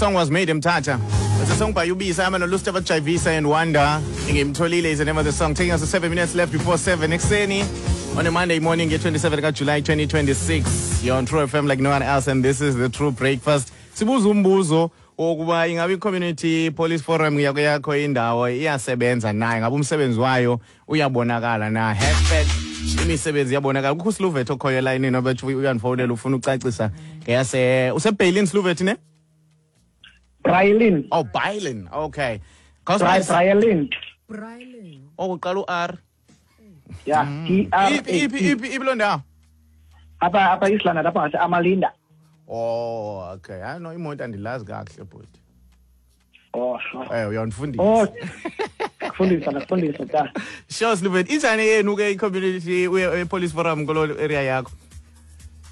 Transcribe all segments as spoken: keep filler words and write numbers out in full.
song was made, Mthatha. It's a song by Ubisa, I'm Lustafa Chavisa and Wanda. Ingimtholile is the name of the song. Taking us to seven minutes left before seven. Ekuseni on a Monday morning, twenty-seventh of July twenty twenty-six. You're on True F M like no one else, and this is the True Breakfast. Sibuza umbuzo wokuba ingabe i-Community Police Forum yakho yakho indawo iyasebenza na, ingabe umsebenzi wayo uyabonakala na? Hashtag imisebenzi iyabonakala. Kukho uSluvet okhoyo elayinini obethi uyandifowunela ufuna ucacisa ngeyase useBailin Sluvet ne? Brailin. Oh, Bailin. Okay. Brailin. Brailin. Oh, uqala u-R. Yeah, T R. Iphi iphi iphi loo ndawo? Apha apha Islanda lapha ngase Amalinda. Oh, okay. I know imoto andilazi kakuhle bhuti. Oh, sure. Eh, uyandifundisa. Oh. Kufundisa nakufundisa ta. Sure, Sluvet. Injani yenu ke i-community police forum kulo area yakho?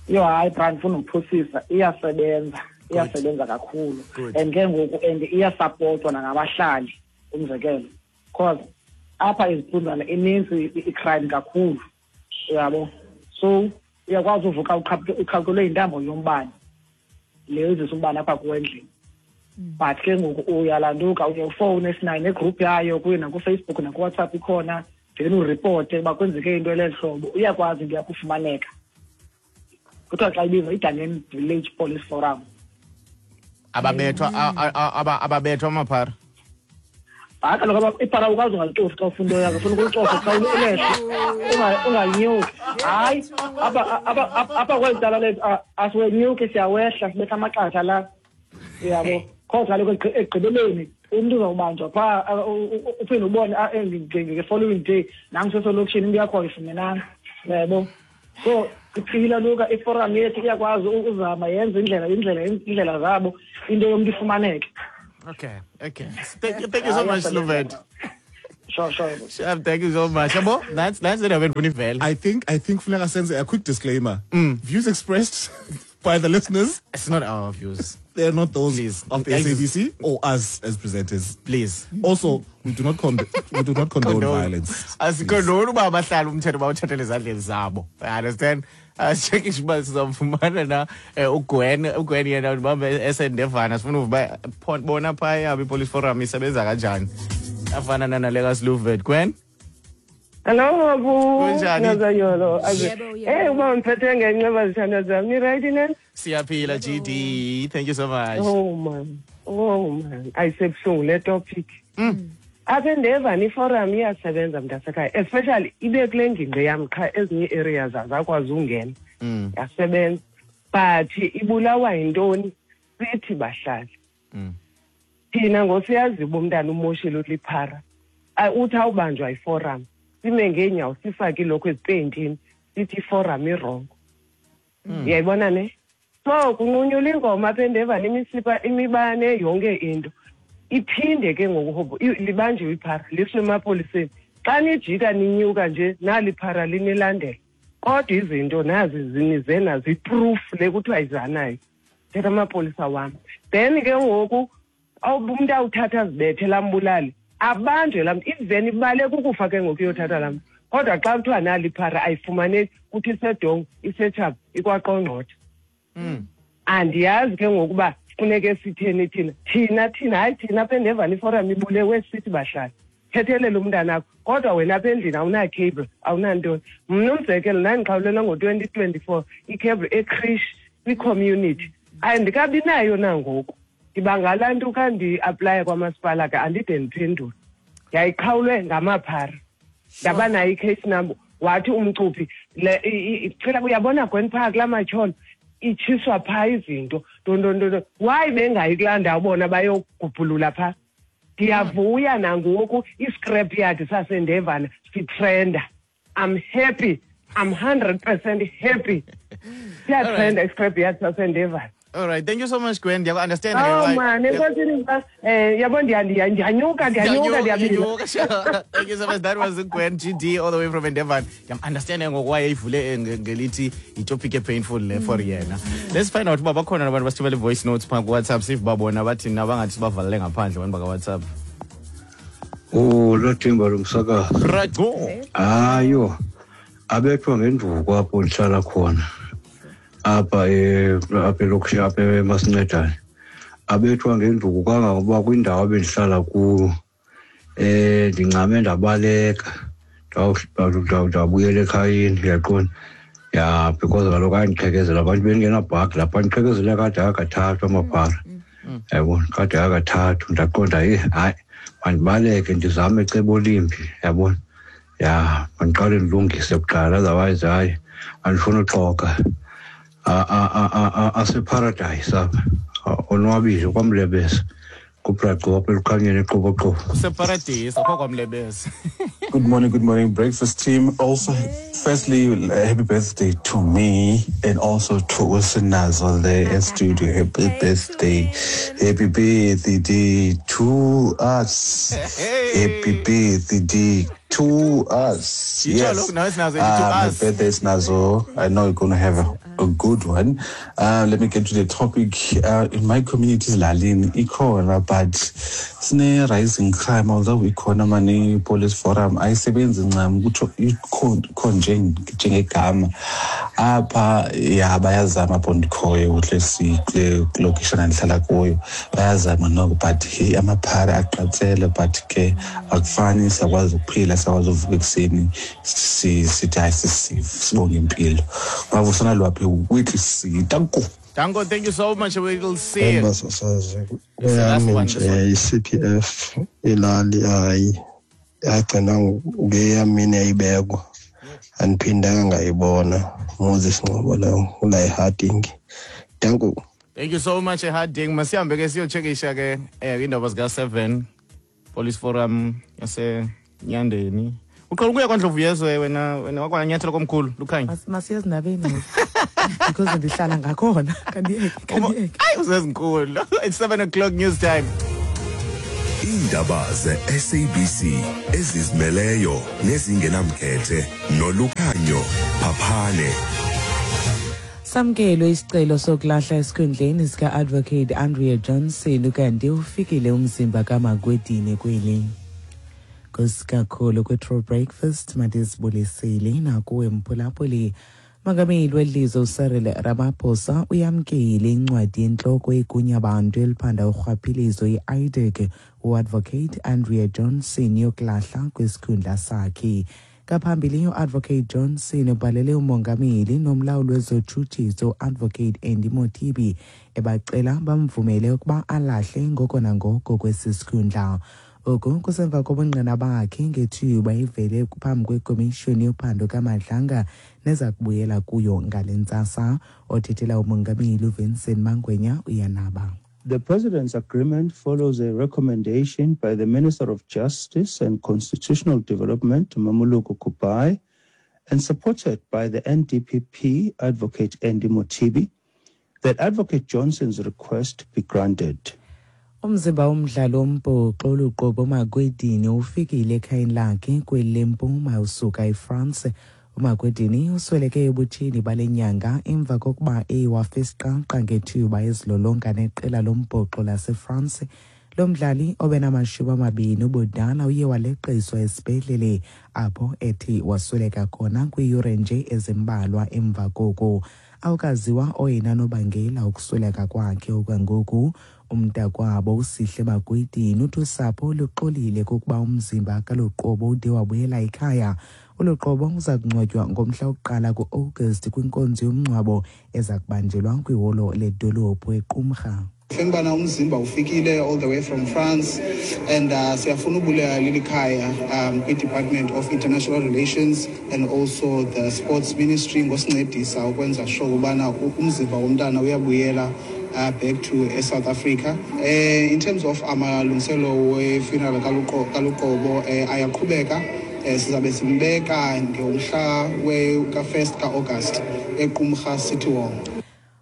Yo, hayi Brian, ndifuna ukuphosisa. Iyasebenza. Iyasebenza kakhulu. And ke ngoku and iyasupportwa nangabahlali umzekelo. Because apha eziphunzana ininzi i-crime kakhulu. Uyabo? So uyakwazi uvuka uqhaqhule intambo yombane. Leyo izisa umbane apha kuwe endlini. But ke ngoku uyalanduka uye ufowune esinayo negroup yayo kuye nakuFacebook nakuWhatsApp ikhona, then ureporte uba kwenzeke into eleli hlobo, uyakwazi into yakufumaneka. Kuthiwa xa ibizwa iDangen Village Police Forum. Ababethwa ababethwa amaphara. Hayi kaloku iphara awukwazi ungalicofi xa ufuna into yakho, ufuna ukulicofa xa ulehle ungalinyuki. Hayi apha apha apha kweli cala lethu asiwenyuki, siyawehla sibetha amaqatha la. Uyabo? Cause kaloku ekugqibeleni umntu uzawubanjwa phaa uphinde ubone nge-following day nangu sesolokishini into yakho ayifumenanga. Uyabo? So iphila luka iforum yethu iyakwazi ukuzama yenze indlela indlela indlela zabo into yomntu ifumaneke. Okay, okay. Thank you, thank you so much, Sluvet. Sure, sure. Sure, thank you so much. Abo, that's that's it. I think I think funeka senze a quick disclaimer. Mm. Views expressed by the listeners. It's not our views. They're not those Please. Of the S A B C or us as presenters. Please. Also, we do not con- we do not condone, condone violence. Asicondone uba abahlali umthetho bawuthathele ezandleni zabo. I understand. Asicekishe uba sizamfumana na uGwen, uGwen yena ubambe esendevana sifuna uba bona phaya iPolice Forum isebenza kanjani. Afana nale kaSluvet. Gwen? Hello, Abu. Kunjani? Eh, uba undiphethe ngenxeba zithandwa zam. Ni right nani? Siyaphila G D. Thank you so much. Oh man. Oh man. Ayisebuhlungu le topic. Mm. Apha endevana iforum iyasebenza mntasekhaya, especially ibe kule ngingqi yam qha ezinye areas azakwazi ungena. Mm. Yasebenza. But ibulawa yintoni? Sithi bahlali. Mm. Thina ngosiyazi uba umntana umoshile uliphara. Uthi awubanjwa iforum. Sime ngeenyawo sifake ilokho ezipeyintini sithi iforum irongo. Uyayibona ne? So kunqunyulwa ingoma apha endevana imisipha imibane yonke into. Iphinde ke ngoku libanjiwe iphara lisiwe emapoliseni. Xa nijika ninyuka nje nali iphara linilandela. Kodwa izinto nazi zinize nazo iproof le kuthiwa izanayo. Thetha amapolisa wam. Then ke ngoku umntu awuthatha azibethe lambulali. Abanjwe laa mntu, iveni ibaleka ukufa ke ngoku iyothatha laa mntu. Kodwa xa kuthiwa nali iphara ayifumaneki, kuthi isedongo, isetshaba, ikwaqongqotha. Andiyazi ke ngokuba funeke sitheni thina. Thina thina hayi thina apha endevana iforum ibulewe sithi bahlali. Thethelele umntanakho, kodwa wena apha endlini awuna-cable, awunantoni. Mna umzekelo ndandiqhawulelwe ngo-twenty twenty-four i-cable eCreche kwi-community. Andikabi nayo nangoku. Ndiba ngalaa nto ka ndiaplaya kwamasipala ke andide ndiphendule. Yayiqhawulwe ngamaphara. Ndaba nayo i-case number. Wathi umcuphi le cela uyabona Gwen phaa kulaa matyholo itshiswa phaa izinto ntontontonto. Why bengayi kulaa ndawo bona bayogubhulula phaa? Ndiyavuya nangoku i-scrap yard sasendevana sitrenda. I'm happy. I'm hundred percent happy. Siyatrenda i-scrap yard sasendevana. All right, thank you so much, Gwen. You understand? Oh man, eh yabo ndiyanyuka ndiyanyuka ndiyabila. Thank you so much. That was Gwen G D all the way from Endeavour. I'm understanding why ivule ngelithi itopic painful le for yena. Let's find out uba bakhona abantu basithumele voice notes pha ku WhatsApp sive babona bathi nabangathi sibavalele ngaphandle abantu baka WhatsApp. Oh, lo thimba lomsakazo. Right go. Ayo. Abethwa ngenduku apho ndihlala khona. Apha apha elokishini apha emasincedane. Abethwa ngenduku kangangokuba kwindawo abendihlala kuyo eh ndincame ndabaleka ndabuyela ekhayeni, uyaqonda? Ya, because kaloku andiqhekezela abantu bengenabhagi lapha, andiqhekezela kade akathathu amaphara, yabona, kade akathathu. Ndaqonda ye hayi mandibaleke ndizame icebo limbi, yabona. Ya, mandiqale ndilungise kuqala, otherwise hayi andifuni uxoka. Aseparadise apha, onwabile kwaMlebesa, kuBraqo apha eLukhanyeni eQoboqobo. Kuseparadise akho kwaMlebesa. Good morning, good morning, breakfast team. Also, firstly, happy birthday to me and also to Usinazo there in studio. Happy birthday. Happy birthday to us. Happy birthday to us. Yes. Uh, my birthday is Nazo. I know you're going to have a, a good one. Uh, let me get to the topic. Uh, in my community, Lalin, ikhona, but sine rising crime, although ikhona mani police forum, ayisebenzi ncam kutho ikhonje njengegama. Apha ya bayazama apho ndikhoyo kuhle sikule location andihlala kuyo, bayazama noko, but hey, amaphara aqatsele, but ke akufani, siyakwazi ukuphila, siyakwazi uvuka ekuseni sithi hayi sibonge impilo. Bavusana lwaphi weekly si. Danko. Danko, thank you so much. We will see. Kweyami nje i-C P F ilali hayi yagcina ngeyamini yayibekwa, andiphindanga ngayibona. Moses Ngcobo lowo ula eHarding. Danko. Thank you so much eHarding. Masihambe ke siyochekisha ke eh indaba zika seven Police Forum yase Nyandeni. Uqala ukuya kwaNdlovu yezwe wena wena wakwanyathela komkhulu Lukhanya. Masiye ezindabeni because ndihlala ngakhona. Kandiyeke, kandiyeke. Hayi usezinkulu. It's seven o'clock news time. Indaba ze-S A B C ezizimeleyo nezingenamkhethe noLukhanyo Phaphane. Samkelwe isicelo sokulahla esikhundleni sika-Advocate Andrea Johnson kanti ufikile umzimba kaMakwedini kweli. Kusikakhulu kwe-True Breakfast madizibulisile nakuwe mphulaphuli. Mongameli welizwe uCyril Ramaphosa uyamkele incwadi yentloko yegunyabantu eliphanda urhwaphilizo i-I D C u-Advocate Andrea Johnson yokulahla kwisikhundla sakhe. Ngaphambili u-Advocate Johnson ubhalele umongameli nomlawuli wezotshutshiso u-Advocate Andy Mothibi ebacela bamvumele ukuba alahle ngoko nangoko kwesi sikhundla. Oku kusemva kobungqina bakhe ngethuba ivele phambi kwekomishoni yophando kaMadlanga neza kubuyela kuyo ngale ntsasa. Othethela umongameli uVincent Mangwenya uyanaba. The President's agreement follows a recommendation by the Minister of Justice and Constitutional Development, Mamuluko Kubai, and supported by the N D P P Advocate Andy Mothibi, that Advocate Johnson's request be granted. Umzimba womdlalo wombhoxo oluqobo uMakwedini ufikile ekhayeni lakhe kweli lempuma usuka eFrance. uMakwedini usweleke ebutsheni bale nyanga emva kokuba ewafa isiqaqa ngethuba ezilolonga neqela lombhoxo laseFrance. Lo mdlali obenamashumi amabini ubudala uye waleqiswa esibhedlele apho ethi wasweleka khona kwiiyure nje ezimbalwa emva koko. Awukaziwa oyena nobangela ukusweleka kwakhe okwangoku. Umntakwabo uSihle Makwedini uthi usapho luxolile kokuba umzimba kaLuqobo ude wabuyela ekhaya. ULuqobo uza kungcwatywa ngomhla wokuqala ku-August kwinkonzo yomngcwabo eza kubanjelwa kwiholo ledolophu eQumrha. Fengibana umzimba ufikile all the way from France and uh, siyafuna ubulela leli khaya um kwi-Department of International Relations and also the Sports Ministry ngosincedisa ukwenza sure ubana umzimba womntana uyabuyela uh, back to South Africa. Uh, in terms of amalungiselo we-funeral kaLuqobo uh, ayaqhubeka. Sizabe simbeka ngomhla we-first ka-August eQumrha City Hall.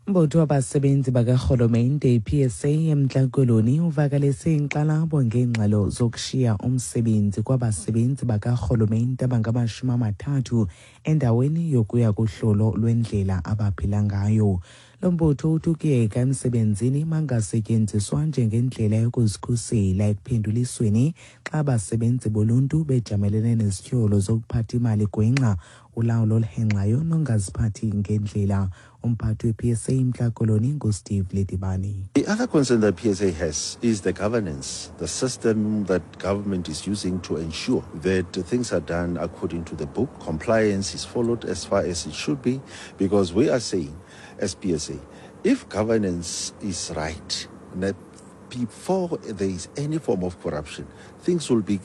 Umbutho wabasebenzi bakarhulumente i-P S A eMntla Koloni uvakalise inkxalabo ngeengxelo zokushiya umsebenzi kwabasebenzi bakarhulumente abangamashumi amathathu endaweni yokuya kuhlolo lwendlela abaphila ngayo. Lo mbutho uthi ukuyeka emsebenzini mangasetyenziswa njengendlela yokuzikhusela ekuphendulisweni xa abasebenzi boluntu bejamelene nezityholo zokuphatha imali gwenxa, Ulawulo oluhenxayo nongaziphathi ngendlela. Umphathi we-P S A eMntla Koloni nguSteve Ledibane. The other concern that P S A has is the governance, the system that government is using to ensure that things are done according to the book, compliance is followed as far as it should be, because we are saying as P S A, if governance is right, that before there is any form of corruption, things will be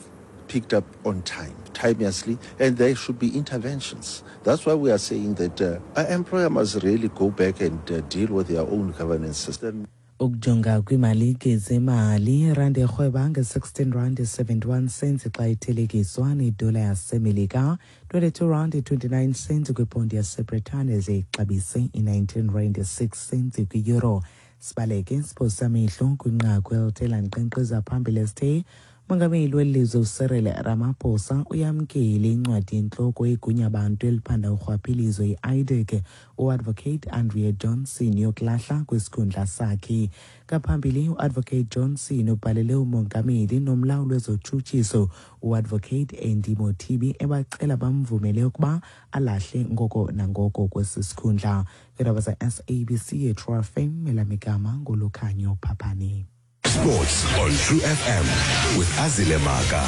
picked up on time, timeously, and there should be interventions. That's why we are saying that uh, our employer must really go back and uh, deal with their own governance system. Ukujonga kwiimalike zemali, irandi erhweba nge-sixteen rand seventy-one cents xa ithelekiswa nedola yaseMelika, twenty-two rand twenty-nine cents kwiponti yaseBritane, ze ixabise i-nineteen rand six cents kwi-euro. Sibaleke siphosa amehlo kwinqaku elithe lanqenqeza phambili esithe Mongameli welizwe uCyril Ramaphosa uyamkele incwadi yentloko yegunyabantu eliphanda urhwaphilizo i-I D C uAdvocate Andrea Johnson yokulahla kwisikhundla sakhe. Ngaphambili uAdvocate Johnson ubhalele umongameli nomlawuli wezotshutshiso uAdvocate Andy Mothibi ebacela bamvumele ukuba alahle ngoko nangoko kwesi sikhundla. Iindaba za-S A B C ye-True F M, elamigama nguLukhanyo Phaphane. Sports on True F M with Azile Maka.